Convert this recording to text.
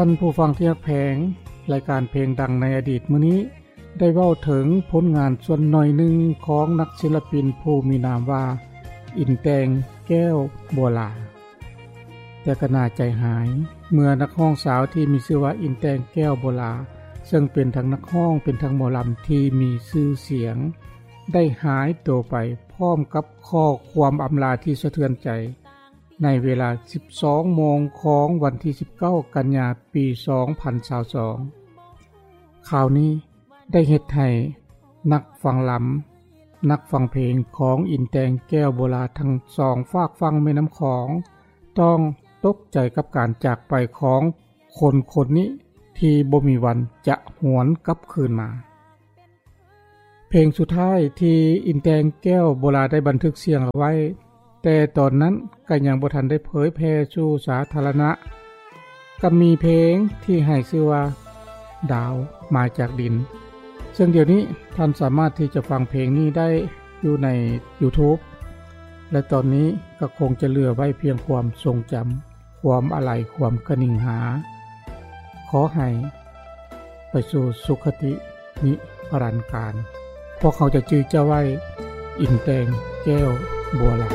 ທ່ານຜູ້ຟັງທີ່ຮັກແພງ, ລາຍການເພງດັງໃນອະດີດມື້ນີ້ ໄດ້ເວົ້າເຖິງຜົນງານສ່ວນໜ້ອຍໜຶ່ງຂອງນັກສິລະປິນຜູ້ມີນາມວ່າ ອິນແຕງ ແກ້ວບົວລາ. ແຕ່ກໍໜ້າໃຈຫາຍ ເມື່ອນັກຮ້ອງສາວທີ່ມີຊື່ວ່າ ອິນແຕງ ແກ້ວບົວລາ ເຊິ່ງເປັນທັງນັກຮ້ອງ ເປັນທັງໝໍລຳທີ່ມີຊື່ສຽງ ໄດ້ຫາຍໂຕໄປພ້ອມກັບຂໍ້ຄວາມອຳລາທີ່ສະເທືອນໃຈ ໃນເວລາສິບສອງໂມງຂອງວັນທີສິບເກົ້າ ກັນຍາ ປີສອງພັນຊາວສອງ. ຂ່າວນີ້ໄດ້ເຮັດໃຫ້ນັກຟັງລຳ ນັກຟັງເພງຂອງອິນແຕງ ແກ້ວບົວລາ ທັງສອງຟາກຝັ່ງແມ່ນ້ຳຂອງ ຕ້ອງຕົກໃຈກັບການຈາກໄປຂອງຄົນຄົນນີ້ ທີ່ບໍ່ມີວັນຈະຫວນກັບຄືນມາ. ເພງສຸດທ້າຍທີ່ອິນແຕງ ແກ້ວບົວລາ ໄດ້ບັນທຶກສຽງເອົາໄວ້ ແຕ່ຕອນນັ້ນກໍຍັງບໍ່ທັນໄດ້ເຜີຍແຜ່ສູ່ສາທາລະນະ ກໍມີເພງທີ່ໃຫ້ຊື່ວ່າ ດາວມາຈາກດິນ ເຊິ່ງດຽວນີ້ທ່ານສາມາດທີ່ຈະຟັງເພງນີ້ໄດ້ຢູ່ໃນ YouTube ແລະ ຕອນນີ້ກໍຄົງຈະເຫຼືອໄວ້ພຽງຄວາມຊົງຈຳ ຄວາມອາໄລ ຄວາມກະໜິງຫາ. ຂໍໃຫ້ໄປສູ່ສຸຄະຕິນິລັນການ. ພວກເຮົາຈະຈື່ເຈົ້າໄວ້, ອິນແຕງ ແກ້ວບົວລາ.